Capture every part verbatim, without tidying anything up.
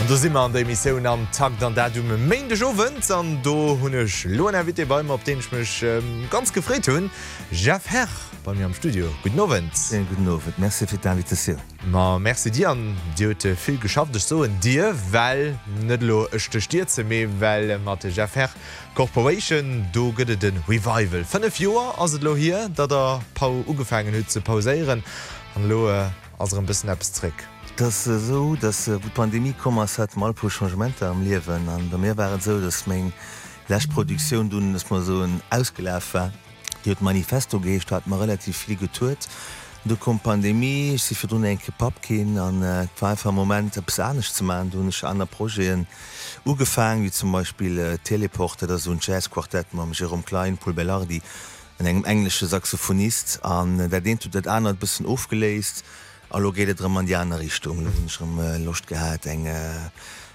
An do si mer an der Emissioun Am Takt an dat um Méindegowend an do hunn ech lo en Invité bei mer, op deen ech mech ganz gefreet hunn, Jeff Herr bei mir am Studio. Gudden Owend. Schéine gudden Owend. Merci fir d'Invitatioun. Ma merci dir an Dir hutt vill geschafft. Ech soen dir, well net elo ech dech dierze, mee well mat Jeff Herr Corporation do gëtt et e Revival. Fënnef Joer ass et elo hier, datt der Pau ugefaangen hutt ze pauséieren an elo ass erëm bëssen eppes zréck. Et ass esou, datt wou d'Pandemie komm ass, hate mer all e puer Changementer am Liewen. An bei mir war et esou, datt meng lescht Produktioun dunn, looss mer soen, ausgelaf war. Déi huet Manifesto geheescht, do hate mer relativ vill getourt. Du koum d'Pandemie, ech si virdrun eng Kéier Papp ginn an et war einfach e Moment, eppes anescht ze maachen. Du hunn ech aner Projeten ugefaang, wéi zum Beispill Teleport, dat ass esou en Jazzquartett mam Jérôme Klein, Pol Belardi an engem englesche Saxophonist. An dat eent huet dat anert e bëssen ofgeléist. A lo geet et erëm an déi aner Richtung. Lo hunn ech erëm Loscht gehat, eng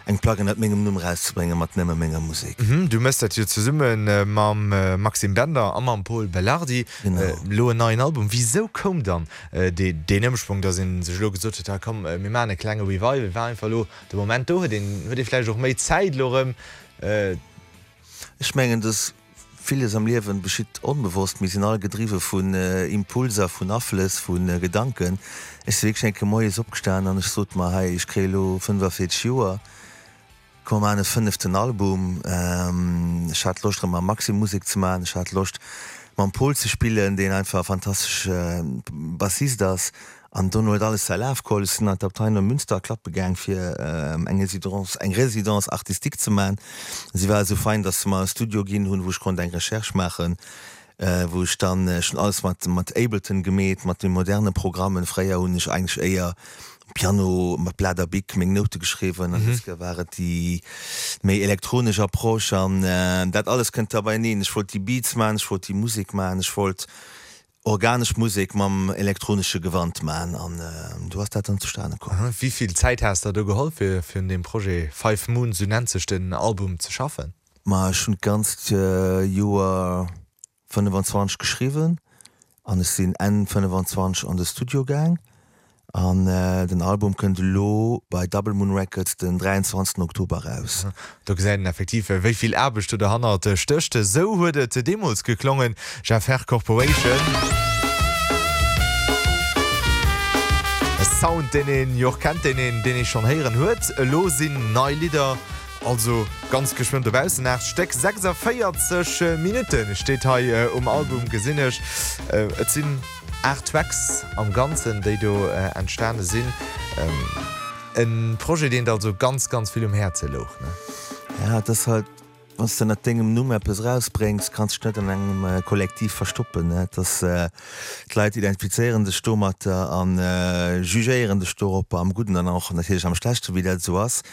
eng Plack ënnert mengem Numm erauszebréngen, mat nëmme menger Musek. Du méchs dat jo zesumme mam Maxime Bender a mam Pol Belardi. Elo en neien Album. Wisou koum dann deen Ëmschwong, datt ee sech elo gesot huet, komm mir maachen e klenge Revival? War einfach elo de Moment do? Huet een huet ee vläicht och méi Zäit elo erëm? Ech mengen, dass villes am Liewen geschitt onbewosst. Mir sinn all gedriwwe vun Impulser, vun Aflëss, vu Gedanken. Ech si wierklech eng Kéier moies opgestan an ech sot mer, hei, ech kréie elo fënnefavierzeg Joer, komm mer maachen e fënneften Album. Ech hat Loscht erëm mam Maxime Musek ze maachen, ech hat Loscht mam Pol ze spillen, deen einfach e fantastesche Bassist ass. An dono huet alles säi Laf geholl. Ech sinn an d'Abtei Neumünster klappe gaang fir eng Résidence, eng Résidence artistique ze man. Si war esou fein, datt se mer e Studio ginn hunn, wou ech konnt eng Recherche maachen, wou ech dann, ech hunn alles mat mat Ableton gemeet, mat de moderne Programmen. Fréier hunn ech eigentlech éier um Piano mat Blat a Bic meng Noute geschriwwen an dës Kéier war et déi méi elektronesch Approche an dat alles kënnt da beieneen. Ech wollt déi Beats man, ech wollt déi Musek man, ech wollt organesch Musek mam elektronesche Gewand man an do ass dat dann zustane komm. Wéi vill Zäit has der do geholl fir fir un deem Projet Five Moons, sou nennt sech den Album, ze schaffen? Ma ech hunn d'ganzt Joer fënnefenzwanzeg geschriwwen an ech sinn Enn fënnefenzwanzeg an de Studio gaang. An den Album kënnt elo bei Double Moon Records den dräianzwanzegsten Oktober eraus. Do gesäit een effektiv, wéi vill Aarbecht do derhannert stécht. Esou huet et deemools geklongen, Jeff Herr Corporation. E Sound, deen een jo och kennt, deen een, deen ee schonn héieren huet. Elo sinn nei Lidder also ganz geschwënn dobaussen. Aacht Stéck, sechsundvéierzeg Minutte steet hei um Album, gesinn ech. Et sinn Aacht Tracks am Ganzen, déi do entstane sinn. E Projet, deen der also ganz, ganz vill um Häerze louch, ne? Ja, et ass halt, wann s de ënnert dengem Numm eppes erausbréngs, kanns dech net an engem Kollektiv verstoppen, ne? Et ass, d'Leit identifizéieren dech domatter a jugéieren dech doropper, am Gudden an och natierlech am Schlechten, wéi dat esou ass.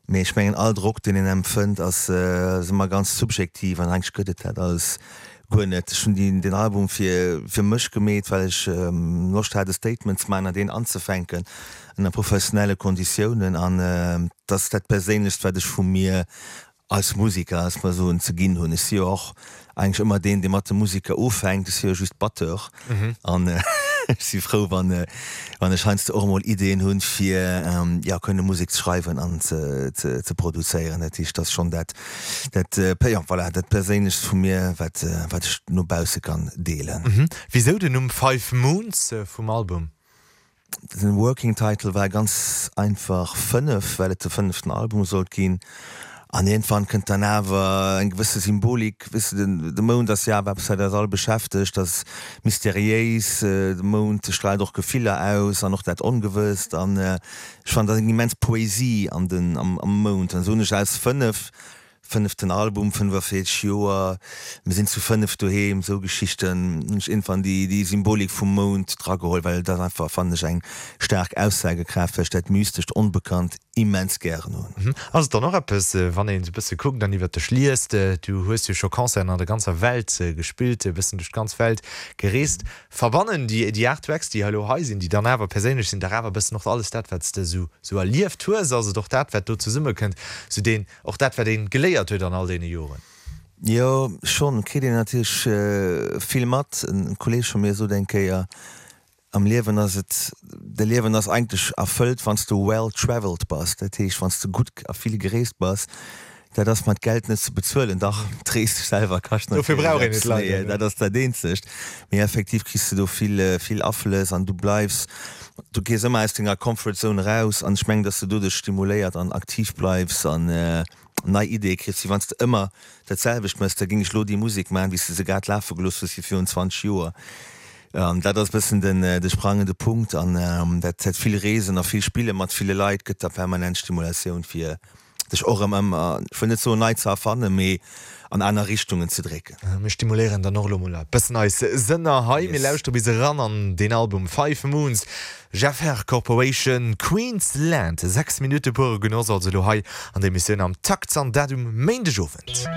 Mee ech mengen, all Drock, deen een empfënnt, ass ëmmer ganz subjektiv an eigentlech gëtt et dat alles guer net. Ech hunn deen Album fir fir mech gemeet, well ech Loscht hat e Statement ze maachen an deen anzefänken ënner professionelle Konditiounen an et ass dat Perséinlechst, wat ech vu mir als Musiker, als Persoun ze ginn hunn. Ech si jo och eigentlech ëmmer deen, dee mat de Musiker ufänkt. Ech si jo just Batteur an ech si frou, wann wann ech heiansdo och emol Ideeën hunn, fir jo kënne Musek ze schreiwen an ze ze ze produzéieren. Dat heescht, dat ass schonn dat dat jo voilà, dat Perséinlechst vu mir, wat wat ech no bausse kann deelen. Wisou den Numm Five Moons vum Album? Den Working Title war ganz einfach Fënnef, well et de fënneften Album sollt ginn. An iergendwann kënnt dann awer eng gewësse Symbolik, weess de, de Mound ass jo awer eppes, wat eis all beschäftegt, ass mysteriéis, de Mound straalt och Gefiller aus an och dat Ongewësst. An ech fannen, et ass eng immens Poesie an den, am Mound. An esou hunn ech aus fënnef Fënneften Album, fënnefavierzeg Joer, mir sinn zu fënnef doheem, esou Geschichten hunn ech iergendwann déi déi Symbolik vum Mound drageholl, well dat einfach, fannen ech, eng staark Aussagekraaft, well ech dat Mystescht, Onbekannt immens gären hunn. Ass et dann och eppes, wann een esou e bësse kuckt an iwwert dech liest, du hues jo scho Concerten an der ganzer Welt gespillt, e bëssen duerch d'ganz Welt gereest, verbannen déi déi aacht Tracks, déi elo hei sinn, déi dann awer perséinlech sinn, dach awer e bëssen och alles dat, wat s de esou esou erlieft hues? Ass et och dat, wat do zesummekënnt, esou deen Och dat, wat een geléiert huet an all deene Joren. Jo, schonn. Kritt een natierlech vill mat. En Kolleeg vu mir sot eng Kéier, Am Liewen ass et, de Liewen ass eigentlech erfëllt, wann s du well traveled bass, dat heescht, wann s du gutt a vill gereest bass. Dat ass mat Geld net ze bezuelen. Dach, d'Rees selwer kascht Dofir natierlech brauch een eppes, et leider, mee ne? dat ass dat eenzegt. Mee effektiv kriss du do vill, vill Aflëss an du bleifs, du gees ëmmer aus denger Comfort Zone eraus an ech mengen, dass du doduerch stimuléiert an aktiv bleifs an nei Ideeë kriss, wéi wann s de ëmmer dat selwecht méchs. Da géing ech lo déi Musek maachen, wéi s de se grad lafe gelooss hues wéi virun zwanzeg Joer. An dat ass e bëssen den, de sprangende Punkt an dat, dat vill Reesen a vill Spille mat ville Leit gëtt der permanent Stimulatioun fir dech och erëm ëmmer, ech wëll net soen nei ze erfannen, mee an aner Richtungen ze drécken. Mir stimuléieren dann och elo mol e bëssen eis Sënner hei. Mir Yes. lauschtere bis eran an deen Album Five Moons, Jeff Herr Corporation, Queensland. Sechs Minutte pure Genoss also elo hei an der Emissioun Am Takt an dat um Méindegowend.